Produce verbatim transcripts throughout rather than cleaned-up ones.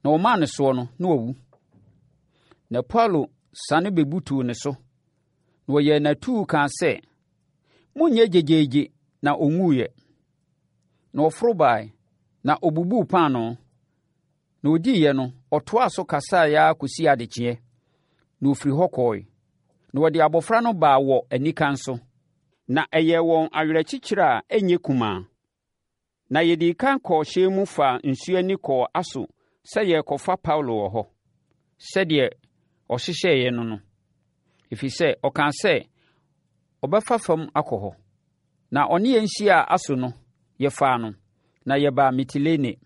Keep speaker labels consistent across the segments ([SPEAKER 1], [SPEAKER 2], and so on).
[SPEAKER 1] Na wɔmaa no soɔ no, na wawu. Na Paulo sane bɛbutuu ne so, na wɔyɛɛ no atuu kaa sɛ, Monnyɛ gyegyeegye na ɔnwuiɛ. Na ɔforo baeɛ, na ɔbubuu paanoo. Na ɔdiiɛ no, ɔtoaa so kasaeɛ ara kɔsii adekyeeɛ, na ɔfiri hɔ kɔɔe. Na wɔde abɔfra no baa wɔ anikan so, na ɛyɛɛ wɔn awerɛkyekyerɛ a ɛnyɛ kumaa. Na yɛdii kan kɔɔ hyɛn mu faa nsuo ani kɔɔ Aso sɛ yɛrekɔfa Paulo wɔ hɔ, sɛdeɛ ɔhyehyɛeɛ no no, ɛfiri sɛ ɔkaa sɛ ɔbɛfa fam akɔ hɔ. Na ɔne yɛn hyiaa Aso no, yɛfaa no, na yɛbaa Mitilene.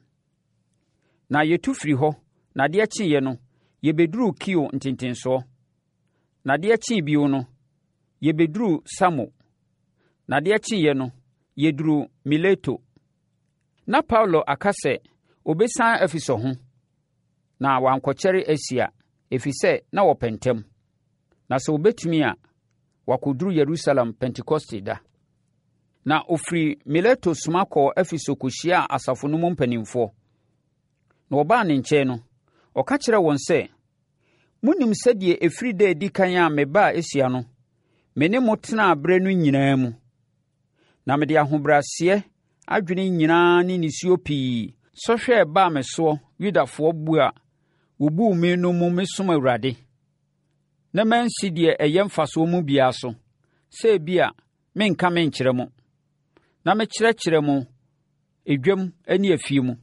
[SPEAKER 1] Na yɛtu firi hɔ, na adeɛ kyeeɛ no, yɛbɛduruu Kio ntentensoɔ. Na adeɛ kyee bio no, yɛbɛduruu Samo. Na adeɛ kyeeɛ no, yɛduruu Mileto. Na Paulo aka sɛ obɛsiane Efeso ho, na wankɔkyɛre Asia, ɛfiri sɛ na wɔpɛ ntɛm. Na sɛ wɔbɛtumi a, wakɔduru Yerusalem Pentekoste da. Na ɔfiri Mileto soma kɔɔ Efeso kɔhyiaa asafo no mu mpanimfoɔ. Na wɔbaa ne nkyɛn no, ɔka kyerɛɛ wɔn sɛ, Monim sɛdeɛ ɛfiri da a ɛdi kan a mebaa Asia no, me ne mo tenaa berɛ no nyinaa mu. Na mede ahobrɛaseɛ adwene nyinaa ne nisuo pii sɔhwɛ a ɛbaa me soɔ Yudafoɔ bu a wɔbuu me no mu mesom Awurade, na mansi deɛ ɛyɛ mfasoɔ mu biara so, sɛ ebia menka menkyerɛ mo, na mekyerɛkyerɛ mo edwam ne afie mu,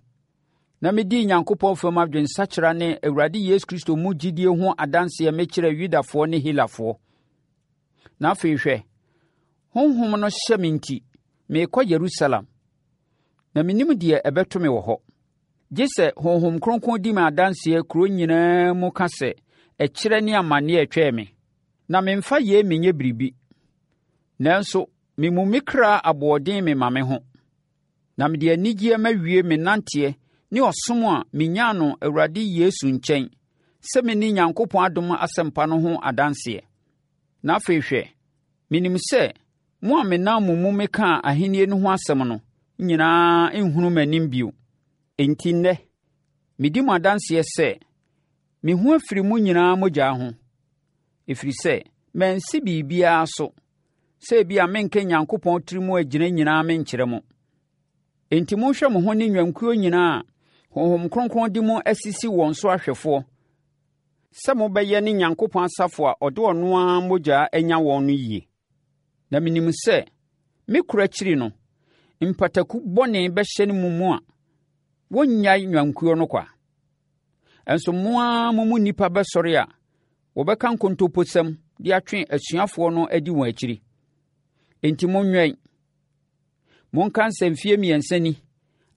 [SPEAKER 1] na medii Nyankopɔn fam adwensakyera ne Awurade Yesu Kristo mu gyidie ho adanseɛ mekyerɛɛ Yudafoɔ ne Helafoɔ. Na afei hwɛ, Honhom no hyɛ me nti, merekɔ Yerusalem, na mennim deɛ ɛbɛto me wɔ hɔ. Gye sɛ Honhom Kronkron di me adanseɛ kuro nyinaa mu ka sɛ ɛkyerɛ ne amanneɛ retwɛn me. Na memfa yei menyɛ biribi, nanso memu me kra aboɔden mema me ho, na mede anigyeɛ mawie me nanteɛ ne ɔsom a menyaa no Awurade Yesu nkyɛn sɛ menni Nyankopɔn adom asɛmpa no ho adanseɛ. Na afei hwɛ, menim sɛ mo a menam mo mu mekaa ahennie no ho asɛm no nyinaa nhunu m'anim bio. Enti nnɛ, medi mo adanseɛ sɛ, me ho afiri mo nyinaa mogya ho, ɛfiri sɛ mansi biribiara so sɛ ebia menka Nyankopɔn tiri mu agyina nyinaa menkyerɛ mo. Enti monhwɛ mo ho ne nnwankuo nyinaa a Honhom Kronkron de mo asisi wɔn so ahwɛfoɔ sɛ mobɛyɛ ne Nyankopɔn asafo a ɔde ɔno ara mogya anya wɔn no yie. Na menim sɛ me kora akyiri no, mpataku bɔne bɛhyɛne mo mu a wɔnnyae nnwankuo no kwa. Nso mo ara mo mu nnipa bɛsɔre a wɔbɛka nkontomposɛm de atwe asuafoɔ no adi wɔn akyiri. Enti monwɛn. Monka sɛ mfeɛ mmiɛnsa ni,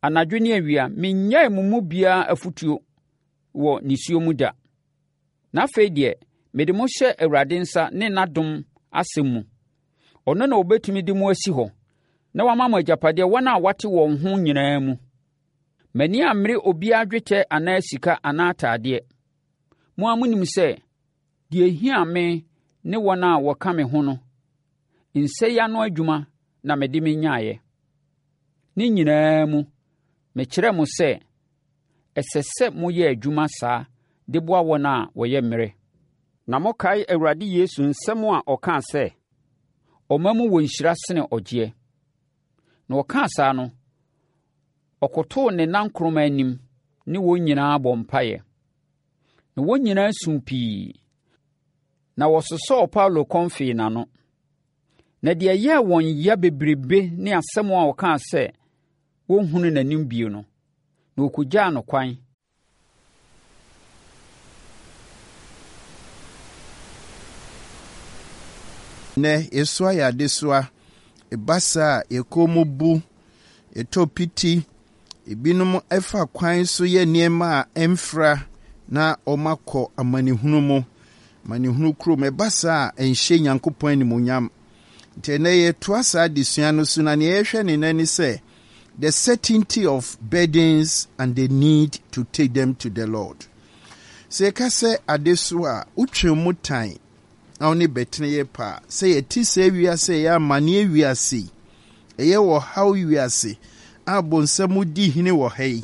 [SPEAKER 1] anadwo ne awia, mennyae mo mu biara afotuo wɔ nisuo mu da. Na afei deɛ, mede mo hyɛ Awurade nsa ne n'adom asɛm mu. Ɔno na ɔbɛtumi de mo asi hɔ na wama mo agyapadeɛ wɔn a wɔate wɔn ho nyinaa mu. M'ani ammere obiara dwetɛ anaa sika anaa atadeɛ. Mo ara monim sɛ deɛ ɛhia me ne wɔn a wɔka me ho no, nsa yi ano adwuma na mede menyaeɛ. Ne nyinaa mu, mekyerɛɛ mo sɛ ɛsɛ sɛ moyɛ adwuma saa de boa wɔn a wɔyɛ mmerɛ. Na mokae Awurade Yesu nsɛm a ɔkaa sɛ, ɔma mu wɔ nhyira sene ɔgyeɛ. Na ɔkaa saa no, ɔkotoo ne nankoroma anim ne wɔn nyinaa bɔ mpaeɛ. Na wɔn nyinaa suu pii, na wɔsosɔɔ Paulo kɔn fee n'ano. Na deɛ ɛyɛɛ wɔn ya bebrebe ne asɛm a ɔkaa sɛ wɔnhunu n'anim bio no, na wɔkɔgyaa no kwan.
[SPEAKER 2] Nnɛ, yɛsoa yɛn adesoa. Ɛba saa a, yɛn kɔn mu bu, yɛtɔ piti. Ebinom fa kwan so yɛ nneɛma a ɛmfra na wɔakɔ amanehunu mu, amanehunu kurom. Ɛba saa a, ɛnhyɛ Nyankopɔn animuonyam. Nti ɛnnɛ yɛtoa saa adesua no so, na nea yɛhwɛ ne nnɛ ne sɛ, the certainty of burdens and the need to take them to the Lord. Sɛ yɛka sɛ adesoa a, wotwe mu tan na wo ne bɛtene yɛ pɛ a, sɛ yɛte saa wiase a ɛyɛ amanneɛ wiase yi, ɛyɛ ɔhaw wiase a bonsam di hene wɔ ha yi,